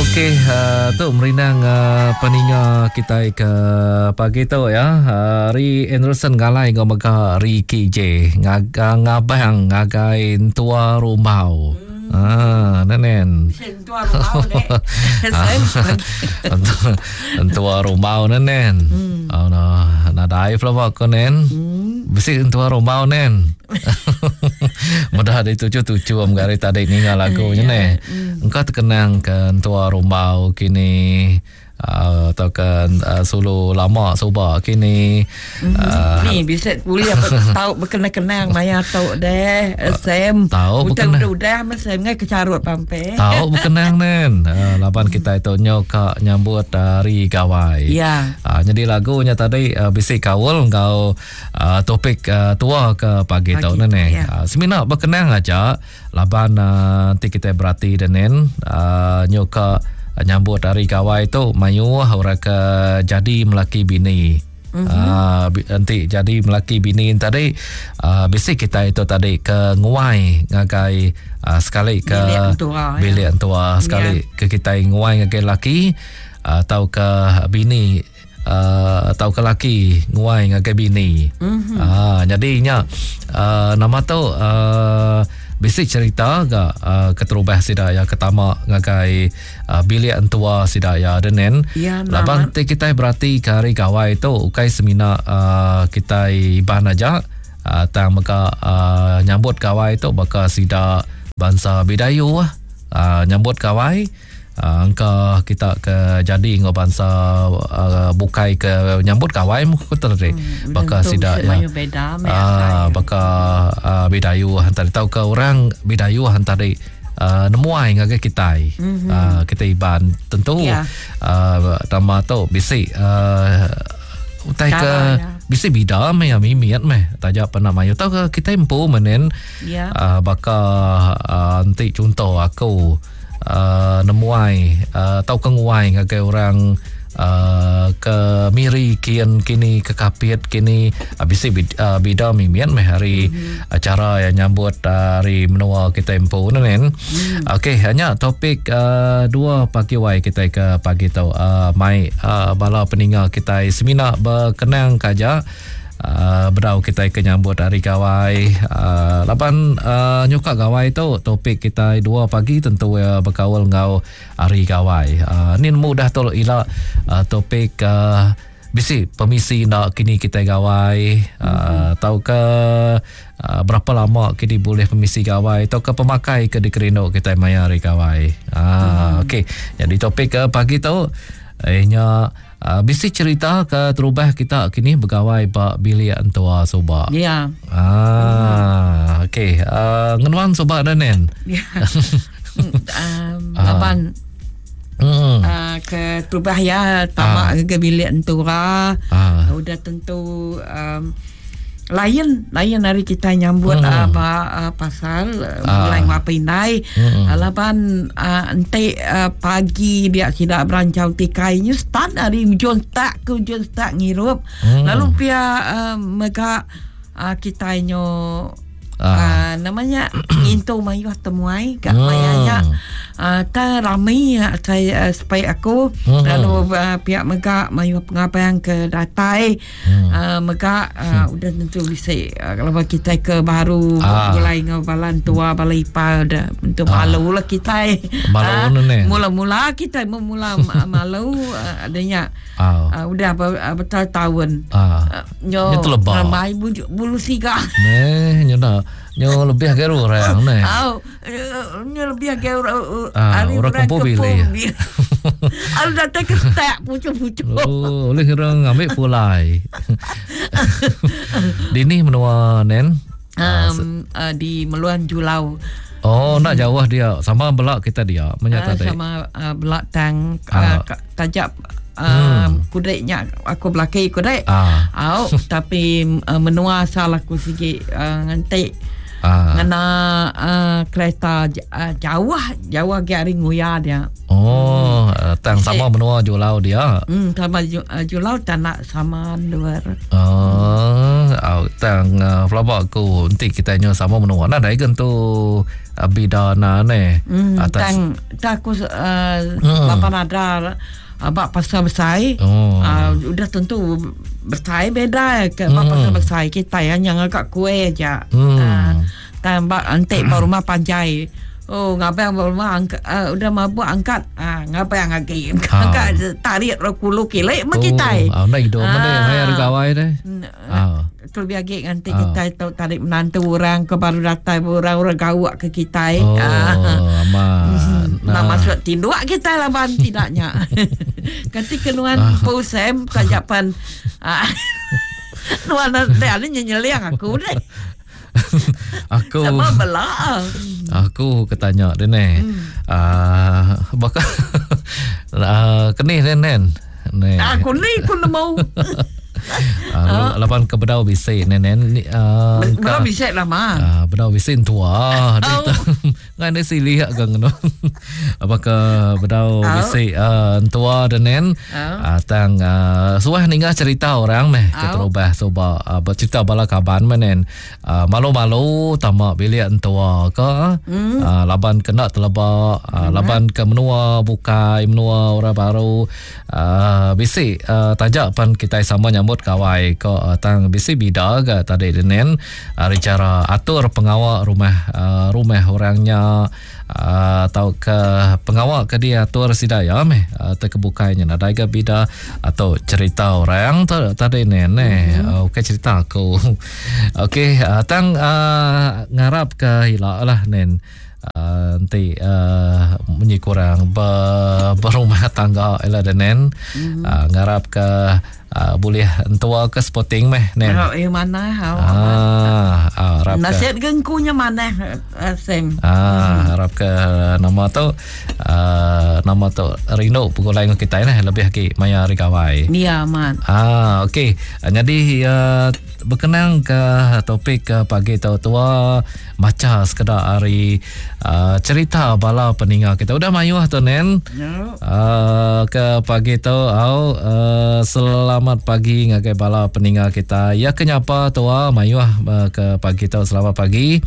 Okey, uh, tu merindang uh, peninga kita ke pagi tu ya. Uh, Ri Anderson Galai ngau mega Ricky J ngagang ngabang ngagai entua rumbau. Hmm. Ah, nenen. Entua rumbau dek. Entua rumbau nenen. Hmm. Oh, no. Nadai pelaba ko nen. Hmm. Bisi entua rumbau nen. Mudah dituju-tuju am gari tadi ninga lagu nya neh. Hmm. Engka terkenang ke entua rumbau kini uh, atau ke uh, sulu lama suba kini. Hmm. Uh, Ni bisa boleh apa tau berkenang-kenang maya tau deh Sam. Tau berkenang. Udah udah masa ngai kecarut pampe. Tau berkenang nen. Uh, laban kita itu nyo ka nyambut hari gawai. Ya. Uh, jadi lagunya tadi uh, bisi kaul enggau uh, topik uh, tua ke pagi, pagi tu nene. Ya. Uh, semina berkenang aja laban uh, nanti kita berati denen uh, nyo ka nyambut hari gawai tu mayuh orang ke jadi melaki bini. Mm-hmm. Uh, nanti jadi melaki bini tadi uh, bisi kita itu tadi ke nguai ngagai uh, sekali ke bilik entua, ya. bilik entua sekali yeah. ke kita nguai ngagai laki atau uh, ke bini uh, atau ke laki nguai ngagai bini. Mm-hmm. Uh, jadi nya uh, nama tu uh, bisi cerita ga uh, keterubah sida ya ketama ngagai uh, bilik entua sida ya denen. Ya, Laban ti kitai berati ke hari gawai tu ukai semina uh, kitai Iban aja uh, tang mega uh, nyambut gawai tu baka sida bansa Bidayuh uh, nyambut gawai Uh, engka kita ke jadi enggau bansa uh, bukai ke nyambut gawai mu ku tadi hmm, baka sida ya beda uh, baka uh, bidayu hantar tau ke orang bidayu hantar uh, nemuai ngagai kitai mm-hmm. uh, kita Iban tentu yeah. uh, nama tu bisi uh, utai ke ya. bisi bida meh ya mimit meh taja pernah mayu tau ke kita empu menen yeah. uh, baka uh, enti contoh aku uh, nemuai uh, tauka nguai ngagai orang uh, ke Miri kian kini ke Kapit kini uh, bisi uh, bida mimit meh hari mm-hmm. acara yang nyambut uh, hari menua kita empu ne nen. Mm. Okey, hanya topik uh, dua pagi wai kita ke pagi tu uh, mai uh, bala peninga kita semina berkenang kaja Uh, bedau kitai ke nyambut hari gawai uh, laban uh, nyuka gawai tu topik kitai dua pagi tentu uh, bekaul enggau hari gawai. Uh, ni nemu dah tu ila uh, topik uh, bisi permisi nak kini kitai gawai uh, mm-hmm. tau ke uh, berapa lama kini boleh permisi gawai atau ke pemakai ke dikerindu kitai maya hari gawai. Uh, mm-hmm. Okey, jadi topik ke pagi tu eh nya Uh, bisi cerita ke terubah kita kini begawai ba bilik entua suba. Ya. Ah, okey. Uh, ngenuan suba dah nen. Ya. um, laban Hmm. Uh, ke terubah ya tamak ah. ke bilik entura. Ah. Udah tentu um, lain lain hari kita nyambut hmm. uh, ba, uh, pasal uh, mulai ngapa indai hmm. uh, laban uh, ente uh, pagi dia tidak berancau tikai nya start dari ujung tak ke ujung tak ngirup hmm. lalu pia uh, mega uh, kita nyo ah. uh, namanya ngintu mayuh temuai kat hmm. mayanya uh, ta rami uh, saya uh, supaya aku hmm. lalu uh, pihak mega mayuh pengabang ke datai Hmm. Uh, mega uh, hmm. udah tentu bisi uh, kalau kita ke baru ah. mulai ngau balan tua balai ipar dah untuk ah. malu lah kita. Malu uh, ni. Mula-mula kita mula malu uh, adanya. Ah. Uh, udah betul tahun. Ah. Uh, nyo ramai bulu, bulu siga. Neh, nyo dah. Nyo lebih ke orang ni. Au, nyo lebih ke orang ah, orang kumpul bili. Al datang ke stak pucuk-pucuk. Oh, boleh orang ambil pulai. Di ni menua nen? Um, uh, di Meluan Julau. Oh, nak jauh dia. Sama belak kita dia. Uh, sama uh, belak tang uh, tajak uh, hmm. kudeknya aku belaki kudek. Ah. Au, tapi uh, menua asal aku sikit uh, ngantik. Ah. Ngena uh, kereta uh, jauh jauh ke hari nguya dia. Oh, hmm. tang sama menua Julau dia. Hmm, sama uh, Julau tak nak sama luar. Oh, hmm. Au tang uh, pelaba aku enti kita nyu sama menua nadai gentu uh, bida na ne. Hmm, Atas tang tak aku uh, hmm. bapa nada ba pasar besai. Oh. Uh, udah tentu besai beda ke ba pasar besai kita yang yang agak kuih aja. Hmm. Uh, tang ba enti ba rumah panjai. Oh ngabang ba rumah angkat, uh, udah mabuk angkat uh, ngabang agi. Angkat tarik ro kulu kilik me kitai. Oh, ah, hidup ah. meh maya gawai deh. Ah. Kelebih agi nganti ah. kitai tu tarik menantu orang ke baru datai orang orang gawak ke kitai. Oh, ah. amat. Nah. Nah, masuk tinduk kitai laban tidaknya. Kati kenuan ah. pusem kajapan. Ah. Nuan dah ni nyenyeliang aku deh. Aku sama bela. Aku ketanya dia ni. Hmm. Uh, baka uh, kenih dia nen. Ni. Aku ni ku nemu. Uh, laban ke bedau bisi nen uh, bedau bisi lama. Uh, bedau bisi tua. Oh. Ngai enda silih ga ngeno. Apa ke bedau bisi uh, entua denen uh, tang uh, suah ninga cerita orang meh ke terubah suba uh, bercerita bala kaban meh nen. Uh, malu-malu tama bilik entua ke mm. uh, laban kena teleba uh, laban ke menua bukai menua orang baru uh, bisi uh, taja pan kitai sama nyambut gawai ke uh, tang bisi bida ga tadi denen. Ari chara atur pengawa rumah rumah orang nya tauka pengawa ke diatur sida iya meh tekebukai nya nadai ga bida atau cerita orang tu tadi ne ne mm-hmm. Ukai cerita aku. Okey tang ngarap ke ila lah nen enti munyi kurang berumah tangga ila denen mm-hmm. Ngarap ke Uh, bulih entua ke sporting meh nen. Oh, eh manah. Oh, ah, ah, harap Nasib ke engkunya manah uh, Sam. Ah, hmm. harap ke nama tu uh, nama tu rindu pegulai dengan kita nah lebih lagi maya hari gawai. Ya, amat. Ah, okey. Jadi uh, berkenang ke topik ke pagi tu tua macha sekeda ari uh, cerita bala peninga kita. Udah mayuh tu nen. Uh, ke pagi tu au uh, selamat pagi ngagai bala peninga kita. Ya ke nyapa tua mayuh uh, ke pagi tu selamat pagi.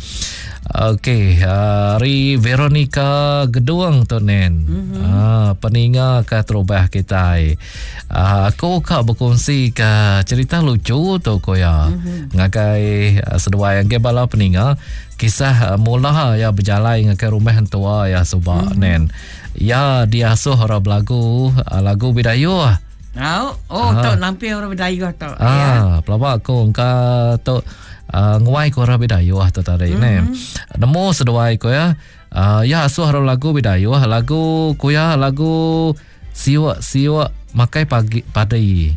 Okey, ari Veronica Gedung tu nen. Mm-hmm. Uh, peninga ke terubah kitai. Uh, aku ka berkongsi ke cerita lucu tu ko ya. Mm-hmm. Ngagai uh, seduai ngagai bala peninga kisah uh, mula ya berjalai ngagai rumah entua ya suba mm-hmm. nen. Ya diasuh orang belagu uh, lagu Bidayuh. Oh, oh tu nampi orang Bidayuh tu. Ah, ya. Pelaba aku engka tu uh, nguai ko orang Bidayuh tu tadi mm-hmm. nen. Nemu seduai ko ya. Uh, ya asuh orang lagu Bidayuh, lagu ku ya lagu Siuk siuk makai pagi padi.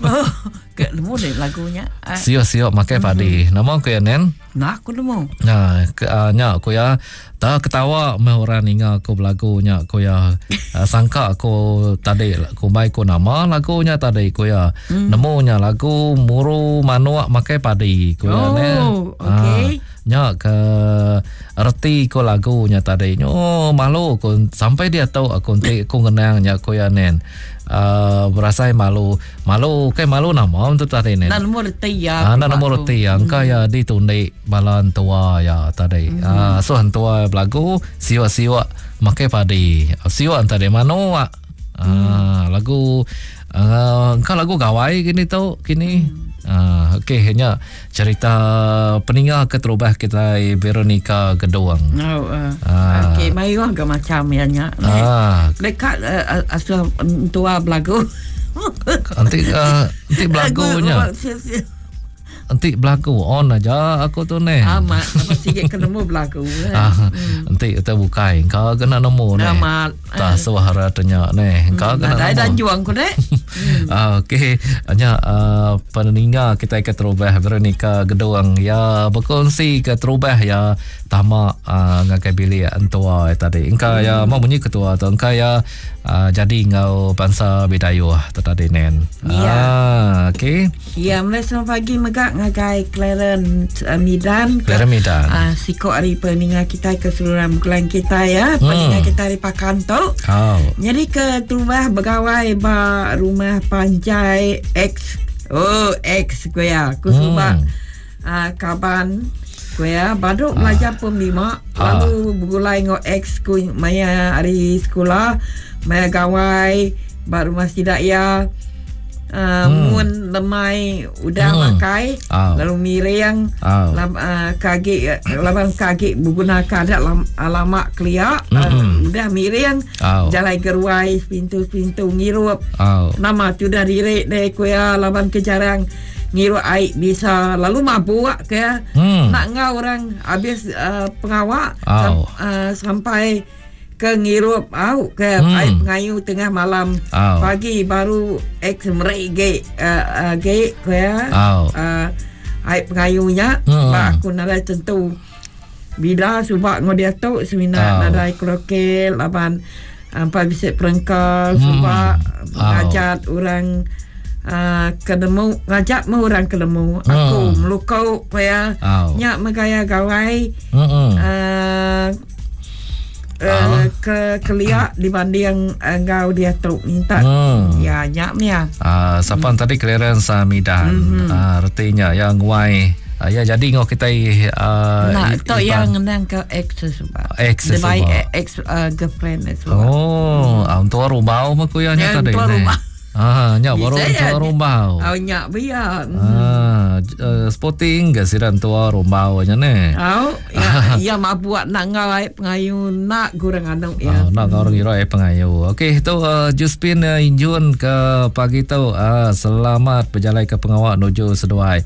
Oh, ke nemu deh lagunya. Ah. Siuk siuk makai padi. Mm-hmm. Nama ku ya nen? Nah, aku nemu. Nah, ke, uh, nya ku ya. Tak ketawa meh orang ninga aku belagu nya ku ya. Uh, sangka aku tadi ku mai ku nama lagunya tadi ku ya. Mm. Nemu nya lagu muru manuk makai padi ku ya nen. Oh, okey. Uh, Nya ke reti ko lagu nya tadi. Nyo malu ko sampai diatu aku enti aku ngenang nya ko ya nen. Uh, berasai malu. Malu kai malu nama tu tadi nen. Nda nemu reti ya. Ah, nda nemu reti ya. Engka hmm. ya ditundi bala entua ya tadi. Hmm. Ah, so entua belagu siuk-siuk makai padi. Siuk tadi manuk. Ah, hmm. lagu uh, engka lagu gawai kini tu kini. Hmm. Ah, okey nya cerita peninga keterubah kita Veronica Gedung. Oh, uh. ah. Okey, mayuh ga macam ya nya. Ah. Dekat uh, asuh tua belagu. Nanti uh, nanti belagunya. Enti belagu on aja aku tu neh. Amat, apa sikit ke nemu belagu. Eh. Ah, hmm. Enti kita bukai, kau kena nemu neh. Amat. Tak suara tanya neh. Kau kena nemu. Ada juang ku neh. Hmm. Ah, okey. Nya uh, peninga kita ke terubah Veronica Gedung ya berkongsi ke terubah ya tama uh, ngagai bilik entua tadi. Engka ya mau bunyi ketua tu engka ya uh, jadi enggau bansa Bidayuh tu tadi nen. Ya. Ah, okey. Ya, mulai selamat pagi mega ngagai Clarence uh, Midan. Clarence Midan. Uh, siko ari peninga kita ke seluruh bulan kita ya. Peninga kita ari Pakan tu. Oh. Jadi ke terubah begawai ba rumah panjai ex. Oh, ex ku iya. Ku suba uh, kaban ku iya badu belajar pom lima lalu begulai enggau ex ku maya hari sekula, maya gawai ba rumah sida iya. Uh, mun lemai udah makai lalu miring lam, uh, ke agi laban ke agi begunaka adat lam, lama kelia uh, udah miring jalai geruai sepintu-sepintu ngirup nama tudah diri deh ku iya laban ke jarang ngirup ai bisa lalu mabuk ke iya nak enggau orang habis uh, pengawa sam, uh, sampai ke ngirup au ke ai pengayu tengah malam pagi baru ex meri ge uh, ge ku iya uh, ai pengayu nya ba aku nadai tentu bila suba enggau diatu semina nadai karaoke laban empai bisi perengka suba ngajat orang uh, ke nemu ngajat meh orang ke nemu aku meluko ku iya nya meh gaya gawai uh, Uh, ke kelia dibanding enggau diatu minta hmm. ya nya mia. Ah uh, sapa hmm. tadi Clarence uh, Midan. Hmm. Uh, retinya yang nguai uh, ya jadi ngau kita uh, nah, tu yang ngenang ke ex sebab. Ex sebab. Ex uh, girlfriend sebab. Oh, hmm. uh, untuk rubau mah ku ya nya tadi. Untuk rubau. Ah, nya baru entua rumbau. Oh, nya bia. Ah, uh, sporting ke sida entua rumbau nya ne. Oh, ya, ya mabuk nak ngau ai pengayu nak gurang anu ya. Oh, nak ngau orang ngira ai pengayu. Okey, tu uh, Juspin uh, Injun ke pagi tu uh, selamat berjalai ke pengawa nuju seduai.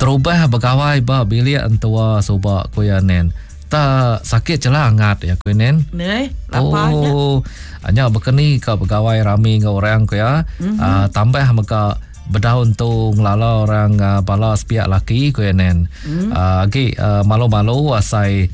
Terubah begawai ba bilik entua suba ku ya nen. Tak sakit celah angat ya ku nen. Ne, lapa nya. Oh, nya bekeni ka begawai rami enggau orang ku ya. Mm -hmm. uh, tambah mega bedaun tu ngelala orang uh, bala sepiak laki ku ya nen. Mm. Uh, agi uh, malu-malu asai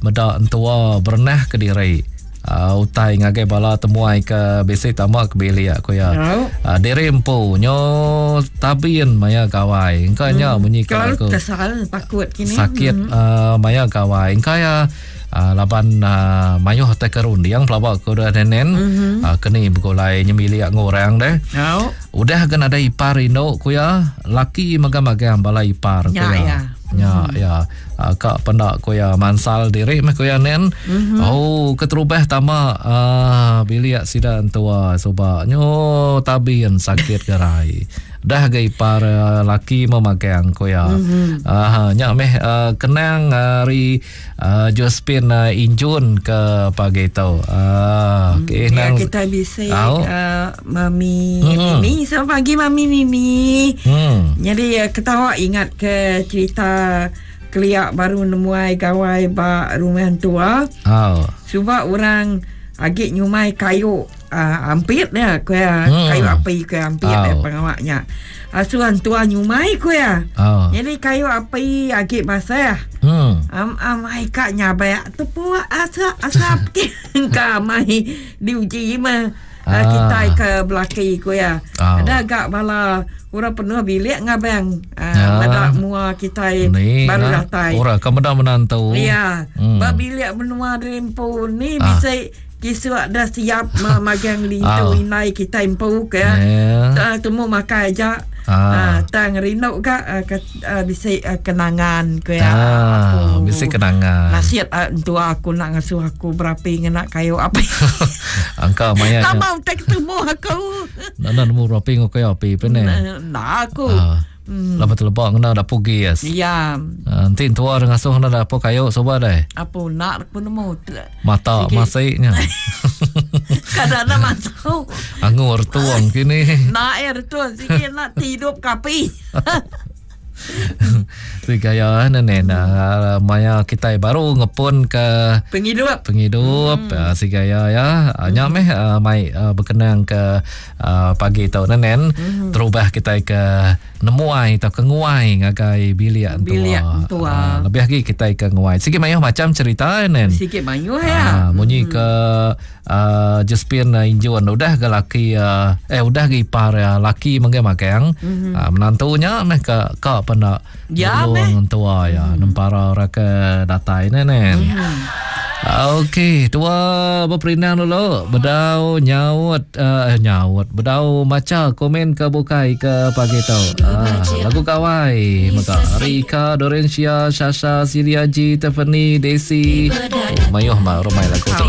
meda entua berenah ke diri. Uh, utai ngagai bala temuai ke bisi tama ke bilik ku ya. Uh, diri empu nyo tabin maya gawai. Engka nya munyi ke aku. Kesal takut kini. Sakit hmm. uh, maya gawai. Engka ya uh, laban uh, mayuh tai ke runding pelaba ku dah nenen. Mm-hmm. Uh, keni begulai nyemilik ngorang deh. Oh. Udah ga nadai ipar indu ku ya, laki magang-magang bala ipar ku ya. Ya. Nya mm-hmm. ya. Uh, ka penda ku ya mansal diri meh ku ya nen. Mm-hmm. Oh keterubah tama uh, bilik sida entua suba nyo tabin sakit gerai. Dah ga ipar uh, laki memagang ku ya. Mm-hmm. Uh, nya meh uh, kenang hari uh, Josephine uh, Injun ke pagi tu. Uh, okay, ya, nang, kita bisa uh, Mami mm. Mimi. Selamat pagi Mami Mimi. Mm. Jadi uh, ketawa ingat ke cerita kelia baru nemuai gawai ba rumah tua. Oh. Suba orang agi nyumai kayu uh, ampit ya ku ya hmm. kayu api ku ampit oh. ya pengawaknya. Asuhan tua nyumai ku ya. Oh. Jadi kayu api agi basah. Hmm. Am am ai ka nyabak tepu asap asap ka mai diuji mah. Ah. Kitai ke belaki ku ya. Oh. Ada agak bala orang penuh bilik ngabang ya. meda mua kitai ni, baru nah. datai. Orang ke meda menantu. Ya. Hmm. Ba bilik menua rempu ni ah. bisa kisuk dah siap magang lintu Ah. inai kitai empu ke. Yeah. Temu makai aja. Ah. Tang rindu ka uh, ke, uh, bisi uh, kenangan ke Ah, aku. bisi kenangan. Nasihat uh, entua aku nak ngasuh aku berapi ngena kayu api. Angka maya Tak mau tak ketemu aku. Nak nak nemu berapi ngau kayu api pun ni. Nah aku. Ah. Lama terlebak kena dapur gas. Ya, Ah, nanti entua ngasuh kena dapur kayu soba deh. apa nak aku nemu. Mata Sikit. masiknya. Kadang nak masuk. Angur tuang kini. Nak air tu sikit nak tidur kapi. Tu gaya nenek nah, maya kita baru ngepun ke Penghidup. penghidup hmm. si gaya ya. Hmm. Nya meh uh, mai uh, berkenang ke uh, pagi tau nenen hmm. terubah kita ke nemuai atau ke nguai ngagai bilik entua. Bilik entua. Uh, lebih lagi kita ke nguai. Sikit mayuh macam cerita nen. Sikit mayuh ya. Ah, munyi ke uh, Josephine uh, Injun udah ke laki uh, eh udah ke ipar uh, laki mengge-magang mm-hmm. uh, menantunya meh ke ka pena Ya, meh. tua ya mm. nempara orang ke datai nen. Hmm. Okey, tua beperindang dulu. Bedau nyaut uh, nyaut, bedau macha komen ke bukai ke pagi tu. Uh, lagu gawai mega Rika, Dorencia, Shasha, Silia G, Tiffany, Desi. Oh, mayuh mah rumai lagu tu ne.